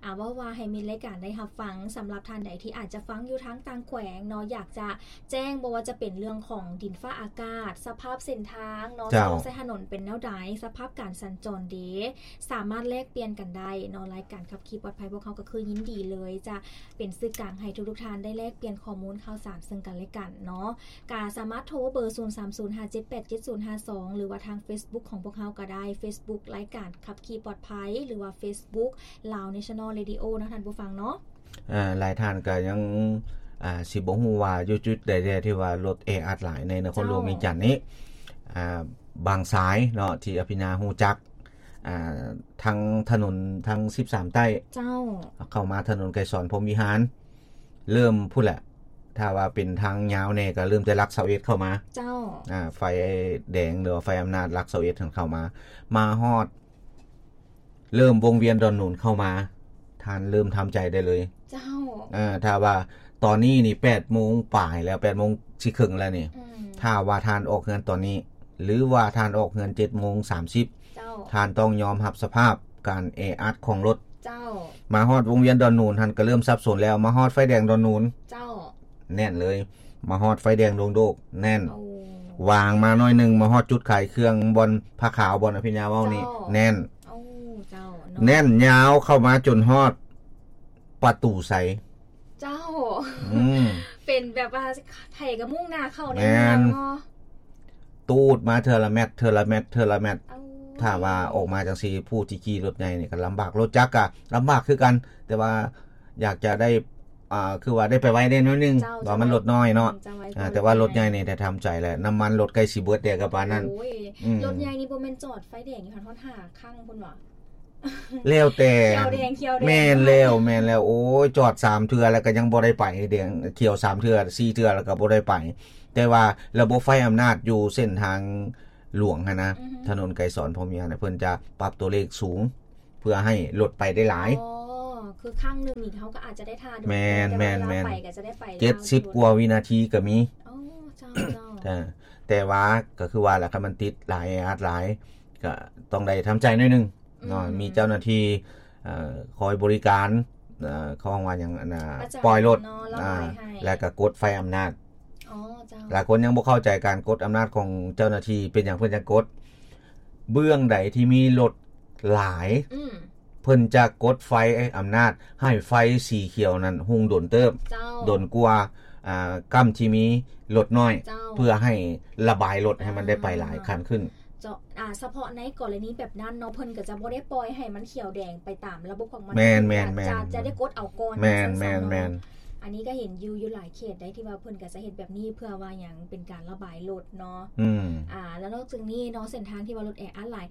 າ ເວົ້າວ່າໃຫ້ມິດລາຍການໄດ້ຮັບຟັງ. ສຳລັບທ່ານໃດທີ່ອາດຈະຟັງຢູ່ທາງຕ່າງແຂວງເນາະ ຢາກຈະແຈ້ງ ບໍ່ວ່າຈະເປັນເລື່ອງຂອງດິນຟ້າອາກາດ ສະພາບເສັ້ນທາງເນາະ ເຈົ້າ ສະຖະໜົນເປັນແນວໃດ ສະພາບການສັນຈອນເດ ສາມາດແລກປ່ຽນກັນໄດ້ເນາະ. ລາຍການຂັບຂີ່ປອດໄພພວກເຮົາກໍຄືຍິນດີເລີຍຈະ ເປັນສື່ກາງໃຫ້ທຸກໆທ່ານໄດ້ແລກປ່ຽນຂໍ້ມູນຂ່າວສານເຊິ່ງກັນແລະກັນເນາະ. ກະສາມາດໂທເບີ ສູນສາມສູນຫ້າເຈັດແປດເຈັດສູນຫ້າສອງ ຫຼືວ່າທາງເຟສບຸກຂອງພວກເຮົາກໍໄດ້ ເຟສບຸກລາຍການຂັບຂີ່ປອດໄພ ຫຼືວ່າເຟສບຸກ Lao National Radio ເນາະທ່ານຜູ້ຟັງເນາະ. ອາ ຫຼາຍທ່ານກໍຍັງ ອາ ຊິບໍ່ຮູ້ວ່າຢູ່ຈຸດໃດແດ່ທີ່ວ່າລົດແອອັດຫຼາຍໃນນະຄອນຫຼວງວຽງຈັນນີ້ ເຈົ້າ ອາ ບາງສາຍເນາະ ທີ່ອະພິນຍາຮູ້ຈັກ ອ່າ ທາງຖະໜົນທາງສິບສາມໃຕ້ ເຈົ້າ ເຂົ້າມາຖະໜົນໄກສອນພົມວິຫານ ເລີ່ມພຸ້ນແຫຼະ ຖ້າວ່າເປັນທາງຍາວແດ່ກໍເລີ່ມແຕ່ຫຼັກຊາວເອັດເຂົ້າມາ ເຈົ້າ ອ່າ ໄຟແດງ ຫຼືວ່າໄຟອຳນາດຫຼັກຊາວເອັດຫັ້ນເຂົ້າມາ ມາຮອດ ເລີ່ມວົງວຽນດອນໜູນເຂົ້າມາ ທ່ານເລີ່ມທຳໃຈໄດ້ເລີຍ ເຈົ້າ ເອີ ຖ້າວ່າຕອນນີ້ນີ້ແປດໂມງປາຍແລ້ວ ແປດໂມງຊິເຄິ່ງແລ້ວນີ້ ອືມ ຖ້າວ່າທ່ານອອກເຮືອນຕອນນີ້ ຫຼືວ່າທ່ານອອກເຮືອນເຈັດໂມງສາມສິບ ເຈົ້າ ທ່ານຕ້ອງຍອມຮັບສະພາບການແອອັດຂອງລົດ ເຈົ້າ ມາຮອດວົງວຽນດອນໜູນຫັ້ນກໍເລີ່ມສັບສົນແລ້ວ ມາຮອດໄຟແດງດອນໜູນ ເຈົ້າ ແໜ້ນເລີຍ ມາຮອດໄຟແດງດົງໂດກ ແໜ້ນ ໂອ້ ຫວ່າງມາໜ້ອຍໜຶ່ງ ມາຮອດຈຸດຂາຍເຄື່ອງ ບ່ອນຜ້າຂາວ ບ່ອນອະພິນຍາເວົ້ານີ້ ເຈົ້າ ແໜ້ນ ໂອ້ ເຈົ້າ ເນາະ ແໜ້ນຍາວເຂົ້າມາຈົນຮອດປະຕູໄຊ ເຈົ້າ ອືມ ເປັນແບບວ່າໃຜກໍມຸ່ງໜ້າເຂົ້າໃນເມືອງເນາະ ແມ່ນ ຕູດມາເທື່ອລະແມັດ ເທື່ອລະແມັດ ເທື່ອລະແມັດ ເອົາ ຖ້າວ່າອອກມາຈັ່ງຊີ້ ຜູ້ທີ່ຂີ່ລົດໃຫຍ່ນີ້ກໍລຳບາກ ລົດຈັກກໍລຳບາກຄືກັນ ແຕ່ວ່າຢາກຈະໄດ້ ອ່າ ຄືວ່າໄດ້ໄປໄວແດ່ໜ້ອຍໜຶ່ງ ເຈົ້າ ວ່າມັນລົດນ້ອຍເນາະ ອືມ ຈະໄວກວ່າ ອ່າ ແຕ່ວ່າລົດໃຫຍ່ນີ້ ແຕ່ທຳໃຈແຫຼະ ນ້ຳມັນລົດໃກ້ຊິເບິດແດ່ກໍປານນັ້ນ ໂອ້ຍ ອືມ ລົດໃຫຍ່ນີ້ບໍ່ແມ່ນຈອດໄຟແດງຢູ່ຫັ້ນຮອດຫ້າຄັ້ງພຸ້ນຫວາ? ແລ້ວແຕ່ ຂຽວແດງ ຂຽວແດງ ແມ່ນແລ້ວ ແມ່ນແລ້ວ ໂອ້ຍ ຈອດສາມເທື່ອແລ້ວກໍຍັງບໍ່ໄດ້ໄປ ແດງ ຂຽວສາມເທື່ອ ສີ່ເທື່ອແລ້ວກໍບໍ່ໄດ້ໄປ ແຕ່ວ່າລະບົບໄຟອຳນາດຢູ່ເສັ້ນທາງຫຼວງຫັ້ນນະ ອືຮຶ ຖະໜົນໄກສອນພົມວິຫານ ເພິ່ນຈະປັບຕົວເລກສູງ ເພື່ອໃຫ້ລົດໄປໄດ້ຫຼາຍ ອໍ ຄືຄັ້ງໜຶ່ງນີ້ເຮົາກໍອາດຈະໄດ້ຖ້າດົນ ແມ່ນ ແຕ່ວ່າເວລາໄປກໍຈະໄດ້ໄປ ເຈັດສິບກວ່າວິນາທີກໍມີ ອໍ ເຈົ້າ ເຈົ້າ ແຕ່ ແຕ່ວ່າກໍຄືວ່າລະ ຄັນມັນຕິດຫຼາຍ ແອອັດຫຼາຍ ກໍຕ້ອງໄດ້ທຳໃຈໜ້ອຍໜຶ່ງ ເນາະ ອືມ ມີເຈົ້າໜ້າທີ່ ເອີ ຄອຍບໍລິການ ເອີ ເຂົາເອີ້ນວ່າຫຍັງ ອັນນ່າ ປະຈຳ ປ່ອຍລົດ ເນາະ ລະບາຍໃຫ້ ອ່າ ແລະກະກົດໄຟອຳນາດ ອໍ ເຈົ້າ ຫຼາຍຄົນຍັງບໍ່ເຂົ້າໃຈການກົດອຳນາດຂອງເຈົ້າໜ້າທີ່ ເປັນຫຍັງເພິ່ນຈັ່ງກົດ ເບື້ອງໃດທີ່ມີລົດຫຼາຍ ອືມ ເພິ່ນຈະກົດໄຟອຳນາດໃຫ້ໄຟສີຂຽວນັ້ນຮຸ່ງດົນເຕີບ ເຈົ້າ ດົນກວ່າ ອ່າ ກ້ຳທີ່ມີລົດນ້ອຍ ເຈົ້າ ເພື່ອໃຫ້ລະບາຍລົດໃຫ້ມັນໄດ້ໄປຫຼາຍ ອ່າ ຂັ້ນຂຶ້ນ ເຈົ້າ ອ່າ ສະເພາະໃນກໍລະນີແບບນັ້ນເນາະ ເພິ່ນກໍຈະບໍ່ໄດ້ປ່ອຍໃຫ້ມັນຂຽວແດງໄປຕາມລະບົບຂອງມັນ ແມ່ນໆໆ ຈະ ຈະໄດ້ກົດເອົາກ່ອນ ແມ່ນໆໆ ອັນນີ້ກໍເຫັນຢູ່ ຢູ່ຫຼາຍເຂດໃດທີ່ວ່າເພິ່ນກໍຈະເຮັດແບບນີ້ ເພື່ອວ່າຫຍັງ ເປັນການລະບາຍລົດເນາະ ອືມ ອ່າ ແລ້ວນອກຈາກນີ້ເນາະ ເສັ້ນທາງທີ່ວ່າລົດແອອັດຫຼາຍ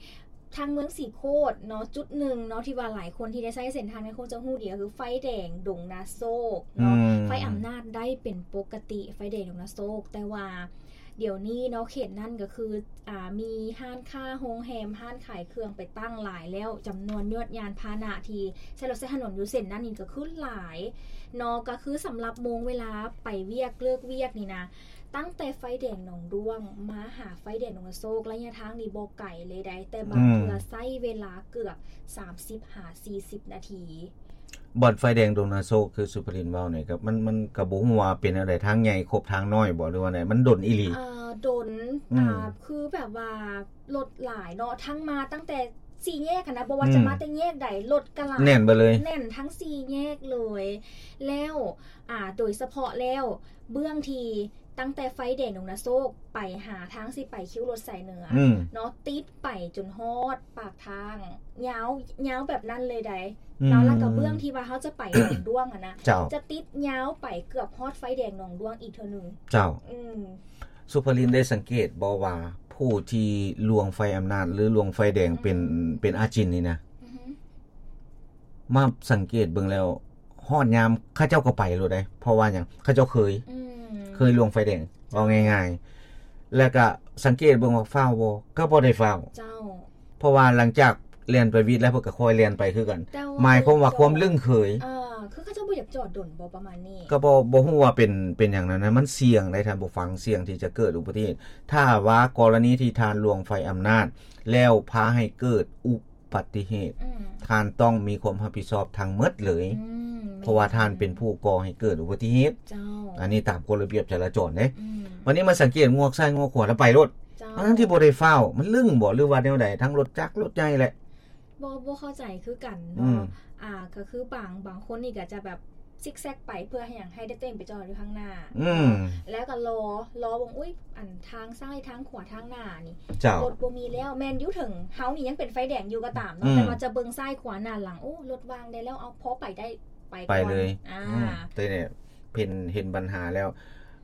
ທາງເມືອງສີໂຄດເນາະ ຈຸດໜຶ່ງເນາະ ທີ່ວ່າຫຼາຍຄົນທີ່ໄດ້ໃຊ້ເສັ້ນທາງນີ້ຄົງຈະຮູ້ດີ ກໍຄືໄຟແດງດົງນາໂຊກເນາະ ອືມ ໄຟອຳນາດໄດ້ເປັນປົກກະຕິ ໄຟແດງດົງນາໂຊກ ແຕ່ວ່າດຽວນີ້ເນາະ ເຂດນັ້ນກໍຄື ອ່າ ມີຮ້ານຄ້າ ໂຮງແຮມ ຮ້ານຂາຍເຄື່ອງໄປຕັ້ງຫຼາຍແລ້ວ ຈຳນວນຍວດຍານພາຫະນະທີ່ໃຊ້ລົດໃຊ້ຖະໜົນຢູ່ເສັ້ນນັ້ນນີ້ກໍຄືຫຼາຍເນາະ ກໍຄືສຳລັບໂມງເວລາໄປວຽກເລີກວຽກນີ້ນະ ຕັ້ງແຕ່ໄຟແດງໜອງດ້ວງມາຫາໄຟແດງດົງນາໂຊກ ໄລຍະທາງນີ້ບໍ່ໄກເລີຍໃດ໋ ແຕ່ບາງເທື່ອ ອືມ ໃຊ້ເວລາເກືອບສາມສິບຫາສີ່ສິບນາທີ. ບ່ອນໄຟແດງດົງນາໂຊກ ຄືສຸພະລິນເວົ້ານີ້ ກໍ ມັນ ມັນກໍບໍ່ຮູ້ວ່າເປັນແນວໃດ ທາງໃຫຍ່ຄົບທາງນ້ອຍບໍ່ ຫຼືວ່າໃດ ມັນດົນອີ່ຫຼີ? ເອີ ດົນ ອືມ ອ່າ ຄືແບບວ່າລົດຫຼາຍເນາະ ທັງມາຕັ້ງແຕ່ ສີ່ແຍກຫັ້ນນະ ບໍ່ວ່າ ອືມ ຈະມາແຕ່ແຍກໃດ ລົດກະຫຼາຍ ແໜ້ນໄປເລີຍ ແໜ້ນທັງສີ່ແຍກເລີຍ. ແລ້ວ ອ່າ ໂດຍສະເພາະແລ້ວ ເບື້ອງທີ່ຕັ້ງແຕ່ໄຟແດງດົງນາໂຊກໄປຫາທາງຊິໄປຄິວລົດສາຍເໜືອ ອືມ ເນາະ ຕິດໄປຈົນຮອດປາກທາງ ຍາວ ຍາວແບບນັ້ນເລີຍໃດ ອືມ ເນາະ. ແລ້ວກໍເບື້ອງທີ່ວ່າເຮົາຈະໄປໜອງດ້ວງຫັ້ນນະ ເຈົ້າ ຈະຕິດຍາວໄປເກືອບຮອດໄຟແດງໜອງດ້ວງອີກເທື່ອໜຶ່ງ ເຈົ້າ ອືມ. ສຸພະລິນໄດ້ສັງເກດບໍ່ວ່າ ຜູ້ທີ່ລ່ວງໄຟອຳນາດ ຫຼື ລ່ວງໄຟແດງເປັນ ອືມ ເປັນອາຈິນນີ້ນະ ອືຮຶ ມາສັງເກດເບິ່ງແລ້ວ ຮອດຍາມເຂົາເຈົ້າກໍໄປໂລດເດ້ ເພາະວ່າຫຍັງ ເຂົາເຈົ້າເຄີຍ ອືມ ເຄີຍລ່ວງໄຟແດງ ເວົ້າງ່າຍໆ. ແລ້ວກໍສັງເກດເບິ່ງວ່າຟ້າວບໍ່ ກໍບໍ່ໄດ້ຟ້າວ ເຈົ້າ ເພາະວ່າຫຼັງຈາກແລ່ນໄປວິດແລ້ວ ເພິ່ນກໍຄ່ອຍແລ່ນໄປຄືກັນ ແຕ່ວ່າ ໝາຍຄວາມວ່າຄວາມລຶ້ງເຄີຍ ເອີ ຄືເຂົາເຈົ້າບໍ່ຢາກຈອດດົນບໍ່ ປະມານນີ້ ກໍບໍ່ ບໍ່ຮູ້ວ່າເປັນ ເປັນຫຍັງນັ້ນນະ ມັນສ່ຽງໄດ໋ ທ່ານຜູ້ຟັງ ສ່ຽງທີ່ຈະເກີດອຸບັດຕິເຫດ. ຖ້າວ່າກໍລະນີທີ່ທ່ານລ່ວງໄຟອຳນາດ ແລ້ວພາໃຫ້ເກີດອຸບັດຕິເຫດ ອືມ ທ່ານຕ້ອງມີຄວາມຮັບຜິດຊອບທັງໝົດເລີຍ ອືມ ເພາະວ່າທ່ານເປັນຜູ້ກໍ່ໃຫ້ເກີດອຸບັດຕິເຫດ ເຈົ້າ ອັນນີ້ຕາມກົດລະບຽບຈະລາຈອນເດ້ ອືມ ບັດນີ້ມາສັງເກດງວກຊ້າຍງວກຂວາແລ້ວໄປໂລດ ເຈົ້າ ທັງທີ່ບໍ່ໄດ້ຟ້າວ ມັນລຶ້ງບໍ່ ຫຼືວ່າແນວໃດ ທັງລົດຈັກລົດໃຫຍ່ແຫຼະ ບໍ່ ບໍ່ເຂົ້າໃຈຄືກັນເນາະ ອືມ ອ່າ ກໍຄືບາງ ບາງຄົນນີ້ກໍຈະແບບຊິກແຊັກໄປເພື່ອໃຫ້ຫຍັງ ໃຫ້ໄດ້ຕົວເອງໄປຈອດຢູ່ທາງໜ້າ ອືມ ເນາະ ແລ້ວກໍລໍ ລໍເບິ່ງ ອຸ້ຍ ອັນທາງຊ້າຍທາງຂວາທາງໜ້ານີ້ ເຈົ້າ ລົດບໍ່ມີແລ້ວ ແມ່ນຢູ່ເຖິງເຮົານີ້ຍັງເປັນໄຟແດງຢູ່ກໍຕາມເນາະ ອືມ ແຕ່ວ່າຈະເບິ່ງຊ້າຍຂວາໜ້າຫຼັງ ໂອ້ ລົດວ່າງໄດ້ແລ້ວ ເອົາ ພໍໄປໄດ້ ໄປ ໄປເລີຍ ອືມ ອ່າ ແຕ່ນີ້ເຫັນ ເຫັນບັນຫາແລ້ວ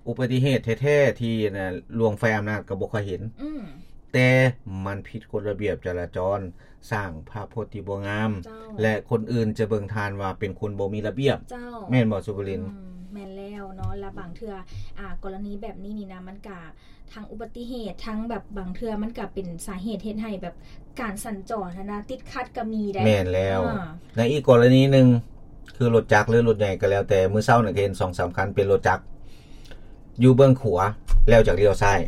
ອຸບັດຕິເຫດແທ້ໆທີ່ນະ ລ່ວງໄຟອຳນາດກໍບໍ່ຄ່ອຍເຫັນ ອືມ ແຕ່ມັນຜິດກົດລະບຽບຈະລາຈອນ ສ້າງພາບພົດທີ່ບໍ່ງາມ ເຈົ້າ ແລະ ຄົນອື່ນຈະເບິ່ງທ່ານວ່າເປັນຄົນບໍ່ມີລະບຽບ ເຈົ້າ ແມ່ນບໍ່ ສຸພະລິນ? ອືມ ແມ່ນແລ້ວເນາະ ລະບາງເທື່ອ ອ່າ ກໍລະນີແບບນີ້ນີ້ນະ ມັນກະທັງອຸບັດຕິເຫດ ທັງແບບບາງເທື່ອມັນກະເປັນສາເຫດເຮັດໃຫ້ແບບການສັນຈອນຫັ້ນນະ ຕິດຂັດກໍມີໄດ໋ ແມ່ນແລ້ວ ອ່າ ໃນອີກກໍລະນີໜຶ່ງ ຄືລົດຈັກ ຫຼື ລົດໃຫຍ່ກໍແລ້ວແຕ່ ມື້ເຊົ້ານີ້ກໍເຫັນສອງສາມຄັນເປັນລົດຈັກ ຢູ່ເບື້ອງຂວາ ແລ້ວຈັກລ້ຽວຊ້າຍ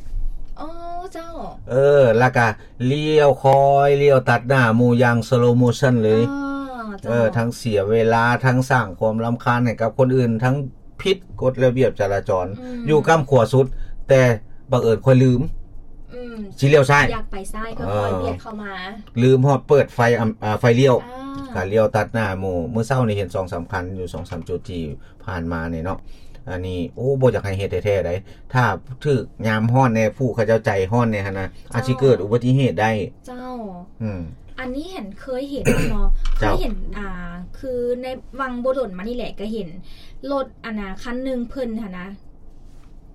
ອໍ ເຈົ້າ ເອີ ແລ້ວກະລ້ຽວ ຄ່ອຍລ້ຽວຕັດໜ້າໝູ່ຢ່າງ slow motion ເລີຍ ອໍ ເຈົ້າ ເອີ ທັງເສຍເວລາ ທັງສ້າງຄວາມລຳຄານໃຫ້ກັບຄົນອື່ນ ທັງຜິດກົດລະບຽບຈະລາຈອນ ອືມ ຢູ່ກ້ຳຂວາສຸດ ແຕ່ບັງເອີນຂ້ອຍລືມ ອືມ ຊິລ້ຽວຊ້າຍ ຢາກໄປຊ້າຍ ເອີ ຄ່ອຍໆບຽດເຂົ້າມາ ລືມຮອດເປີດໄຟ ອຳ ອ່າ ໄຟລ້ຽວ ອ່າ ກະລ້ຽວຕັດໜ້າໝູ່ ມື້ເຊົ້ານີ້ເຫັນສອງສາມຄັນຢູ່ສອງສາມຈຸດທີ່ ຜ່ານມານີ້ເນາະ ອັນນີ້ ໂອ້ ບໍ່ຢາກໃຫ້ເຮັດແທ້ໆໃດ໋ ຖ້າຖືກຍາມຮ້ອນແດ່ ຜູ້ເຂົາເຈົ້າໃຈຮ້ອນແດ່ຫັ້ນນະ ເຈົ້າ ອາດຊິເກີດອຸບັດຕິເຫດໄດ້ ເຈົ້າ ອືມ ອັນນີ້ເຫັນ ເຄີຍເຫັນເນາະ ເຈົ້າ ເຄີຍເຫັນ ອ່າ ຄືໃນຫວ່າງບໍ່ດົນມານີ້ແຫຼະ ກໍເຫັນລົດ ອັນນະ ຄັນໜຶ່ງເພິ່ນຫັ້ນນະ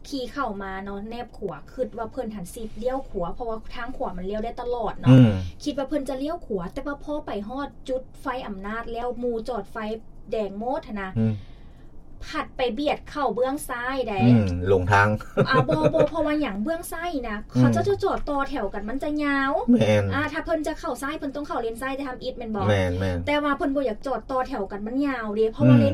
ຂີ່ເຂົ້າມາເນາະ ແນບຂວາ ຄິດວ່າເພິ່ນຫັ້ນຊິລ້ຽວຂວາ ເພາະວ່າທາງຂວາມັນລ້ຽວໄດ້ຕະຫຼອດເນາະ ອືມ ຄິດວ່າເພິ່ນຈະລ້ຽວຂວາ ແຕ່ວ່າພໍໄປຮອດຈຸດໄຟອຳນາດແລ້ວ ໝູ່ຈອດໄຟແດງໝົດຫັ້ນນະ ອືມ ພັດໄປບຽດເຂົ້າເບື້ອງຊ້າຍໃດ໋ ອືມ ຫຼົງທາງ ອ່າ ບໍ່ ບໍ່ ເພາະວ່າຫຍັງ ເບື້ອງຊ້າຍນະ ອືມ ເຂົາເຈົ້າຈະຈອດຕໍ່ແຖວກັນ ມັນຈະຍາວ ແມ່ນ ອ່າ ຖ້າເພິ່ນຈະເຂົ້າຊ້າຍ ເພິ່ນຕ້ອງເຂົ້າເລນຊ້າຍແຕ່ທຳອິດແມ່ນບໍ່? ແມ່ນໆ ແຕ່ວ່າເພິ່ນບໍ່ຢາກຈອດຕໍ່ແຖວກັນ ມັນຍາວເດ້ ເພາະວ່າ ອືມ ເລນ